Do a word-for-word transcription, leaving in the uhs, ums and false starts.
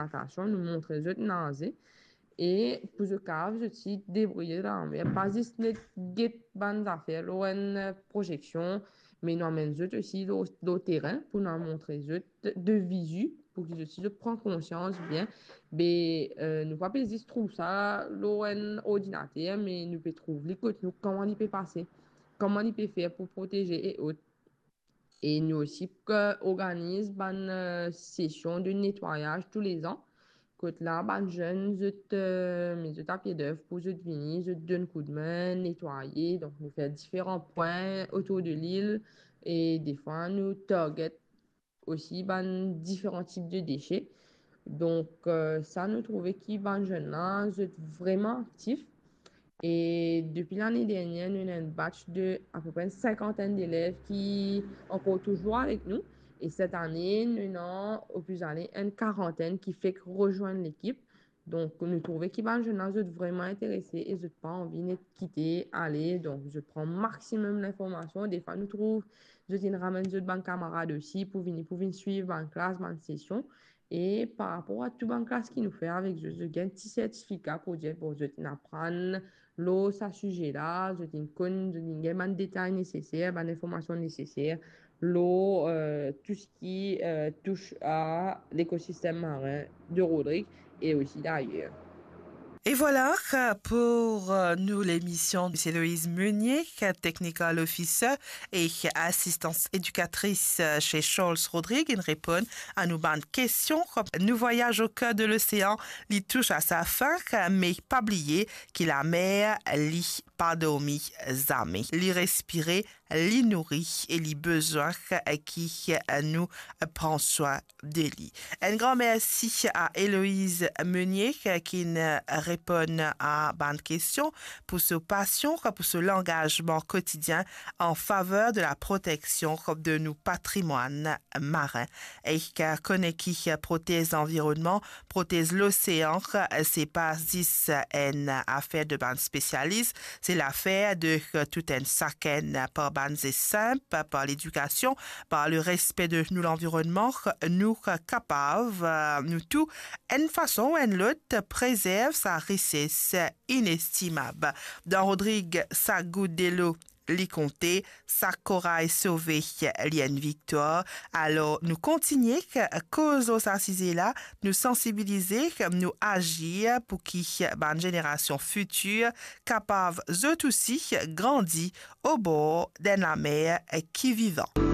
natasion, nou montre zot naze, e pou zot kapav zot osi debrouye dan lamer, pa zis net get bann zafer lor enn, eh, proyeksion, me nou amenn zot osi lor, lor terin pou nou montre zot de, de vizi, pou ki zot osi zot pran konsians bien. Be, eh, nou pa pe zis trouv sa lor enn ordinater, me nou pe trouv li kot nou, kouma li pe pase, kouma li pe fer pou proteze e ot. E nou osi, eh, organiz bann, eh, sesion de netwayaz toulezan. Kot la, bann zenn, zot, eh, met zot apie dev pou zot vini, zot donn koudme, netwaye. Donk, nou fer diferan pwin otour de lil e defwa, nou target osi bann diferan tip de dese. Donk, eh, sa nou trouve ki bann zenn la, zot vreman aktif. E depi lane dernie, nou ena enn batch de apepre enn sinkantenn delev ki ankor touzour avek nou. E set ane, nou ena opli ale enn karantenn ki fek rezwenn lekip. Donk, nou trouve ki bann zenn la, zot vreman interese e zot pa anvi net kite ale. Donk, zot pran maximum linformasion. Defwa, nou trouv zot inn ramenn zot bann kamarad osi pou vini, pou vinn swiv bann klas, bann sesion. E par rapor a tou bann klas ki nou fer avek zot, zot gagn ti sertifika pou dir, bon, zot inn aprann lor sa size la, zot inn konn, zot inn gagn bann detay neseser, bann informasion neseser lor, eh, tou seki, eh, tous a lekosistem marin de Rodrig e osi dayer. Et voilà pour euh, nous l'émission. C'est Héloïse Meunier, Technical Officer et assistante éducatrice chez Charles Rodrigue. Il répond à nos bandes questions. Nos voyages au cœur de l'océan, li touche à sa fin, mais pas oublier que la mer, li pa dormi zame. Li respire, li nouri e li bizin ki nou pran swin de li. Enn gran mersi a Héloïse Meunier ki inn reponn a bann kestion pou so pasion, pou so langazman kotidien an faver de la proteksion de nou patrimwann marin. E kone ki protez lanvironnman, protez losean, se pa zis enn afer de bann spesialis, se lafer de tou enn sakenn. Par bann zes sinp, par ledikasion, par le respe de nou lanvironnman, nou kapav, nou tou, enn fason ou enn lot, prezerv sa rises inestimab. Dan Rodrig, sa gout delo, li konte, sa koraz sove, li enn viktwar. Alor, nou kontigne koz lor sa size la, nou sansibilize, nou azir pou ki bann zenerasion fitir kapav zot osi grandi obor d'enn lamer ki vivan.